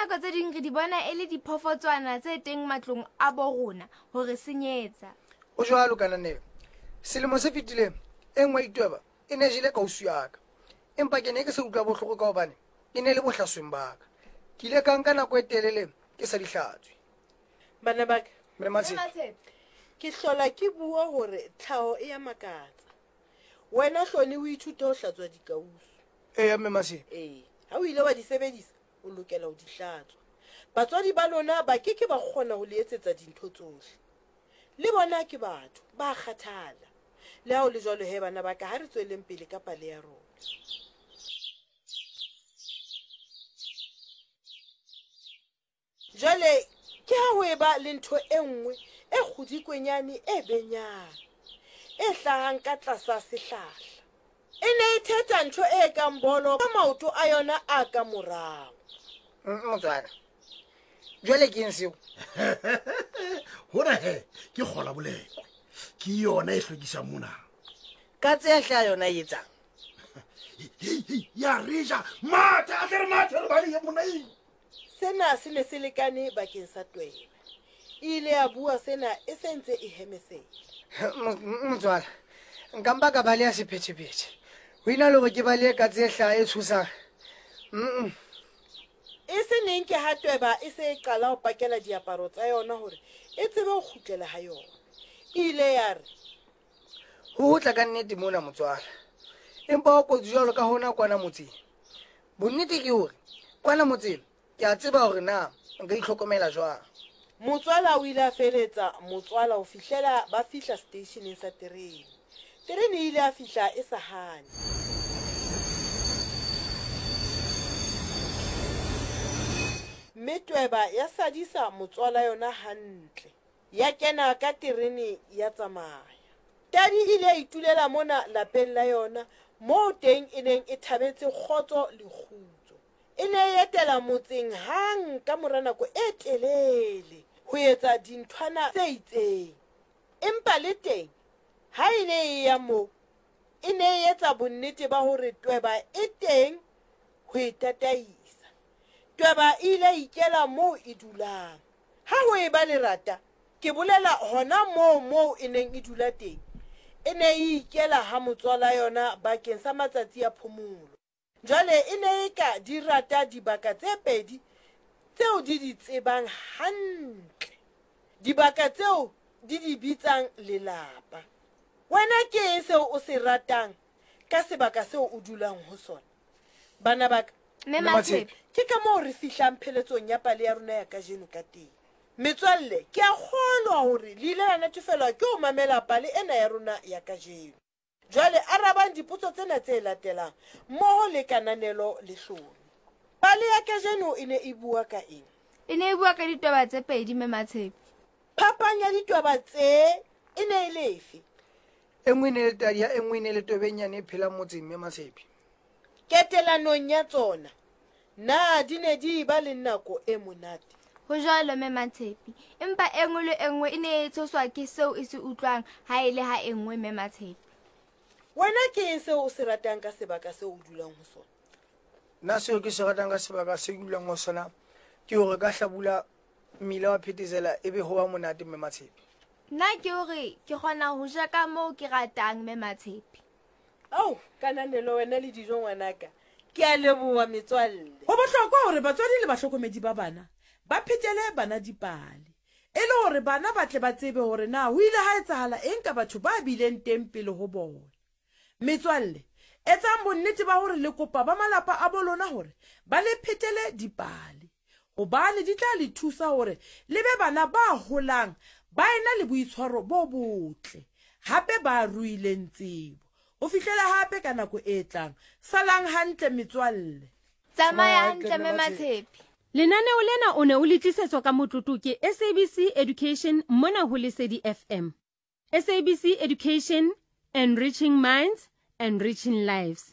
nako tse ding re di bona e le diphoofotswana tse teng matlong a bo rona ho re senyetsa. Ho jwalo, Kananelo. Selemo se fetileng, e nngwe ya ditweba e ne e jele kausu ya ka. Empa ke ne ke sa utlwa bohloko ka hobane e ne e le bohlasweng ba ka. Ke ile ka nka nako e telele ke sa di hlatswe. Bana ba ka, Mme Matshepe. Ke hlola ke bua hore tlhaho e ya makatsa. Wena Hloni o ithute ho hlatswa dikausu. Eya, Mme Matshepe. Ee, ha o ile wa di sebedisa, o lokela ho di hlatswa. Batswadi ba lona ba ke ke ba kgona ho le etsetsa dintho tsohle. Le bona ke batho, ba a kgathala. Le ha ho le jwalo he bana ba ka, ha re tsweleng pele ka pale ya rona. Jwale ke ha ho eba le ntho e nngwe e kgodikwenyane e benyang, e hlahang ka tlasa sehlahla. E ne e thetha ntho e kang bolo ka maoto a yona a ka morao. Motswala, jwale ke eng seo? Hona he ke kgola bolekwe. Ke yona e hlwekisang mona. Katse ya hlaha yona e etsang? Ya re ja mathe, a tle re mathe re balehe mona. Sena se ne se lekane bakeng sa Tweba. E ile ya bua sena e se ntse e hemesela. Motswala, nka mpa ka baleha sephethephethe ho ena le hore ke balehe katse e hlaha e tshosang. Mm. E se neng ke ha Tweba e se e qala ho pakela diaparo tsa yona hore e tsebe ho kgutlela ha yona. E ile ya re. Ho ho tla ka nnete mona motswala. Empa ho kotsi jwalo ka hona kwana motseng. Bonnete ke hore kwana motseng ke a tseba hore na nka itlhokomela jwang. Motswala o ile a feletsa motswala ho fihlela ba fihla seteisheneng sa terene. Terene e ile ya fihla e sa hane. Mme tweba ya sadisa motswala yona hantle. Ya kena ka terene ya tsamaya. Tadi e ile ya itulela mona lapeng la yona moo teng e neng e thabetse kgotso le kgutso. E ne e etela motseng hang ka mora nako e telele ho etsa dinthwana tse itseng. Empa le teng ha e ne e ya moo e ne e etsa bonnete ba hore tweba e teng ho e tataisa. Tweba e ile ya ikela moo e dulang. Ha ho eba lerata, ke bolela hona moo moo e neng e dula teng, e ne e ikela ha motswala yona bakeng sa matsatsi a phomolo. Jwale e ne eka di rata dibaka tse pedi tseo di di tsebang hantle, dibaka tseo di di bitsang lelapa. Wena ke eng seo o se ratang ka sebaka seo o dulang ho sona? Bana ba ka, Mme Matshepe. Ke ka moo re fihlang pheletsong ya pale ya rona ya kajeno ka teng. Metswalle, ke a kgolwa hore le ile la natefelwa ke ho mamela pale ena ya rona ya kajeno. Jwale arabang dipotso tsena tse latelang mmoho le Kananelo le Hlomi. Pale ya kajeno e ne e bua ka eng? E ne e bua ka ditweba tse pedi, Mme Matshepe. Phapang ya ditweba tsee e ne e le efe? E nngwe e ne e le tadi ha e nngwe e ne e le twebenyane e phelang motseng, Mme Matshepe. Ketelanong ya tsona, na di ne di eba le nako e monate? Ho jwalo, Mme Matshepe. Empa e nngwe le e nngwe e ne e tshoswa ke seo e se utlwang ha e le ha e nngwe, Mme Matshepe. Wena ke eng seo o se ratang ka sebaka seo o dulang ho sona? Nna seo ke se ratang ka sebaka seo ke dulang ho sona ke hore ka hlabula mmila wa phethesela ebe ho ba monate, Mme Matshepe. Nna ke hore ke kgona ho ja ka moo ke ratang, Mme Matshepe. Ao, kananelo wena le dijo ngwanaka. Ke a leboha metswalle. Go bohlokwa gore batswadi le bahlokomedi ba bana ba phetele bana dipale e le gore bana ba tle ba tsebe gore na ho ile ha etsahala eng ka batho ba bileng teng pele ho bona. Metswalle, etsang bonnete ba gore le kopa ba malapa a bo lona gore ba le phetele dipale gobane di tla le thusa gore le be bana ba holang ba ena le boitshwaro bo botle gape ba ruileng tsebo. Ho fihlela gape ka nako e tlang, salang hantle metswalle. Tsamaya hantle Mme Matshepe. Lenaneo lena o ne o le tlisetswa ka motlotlo ke SABC Education mona ho Lesedi FM. SABC Education, enriching minds, enriching lives.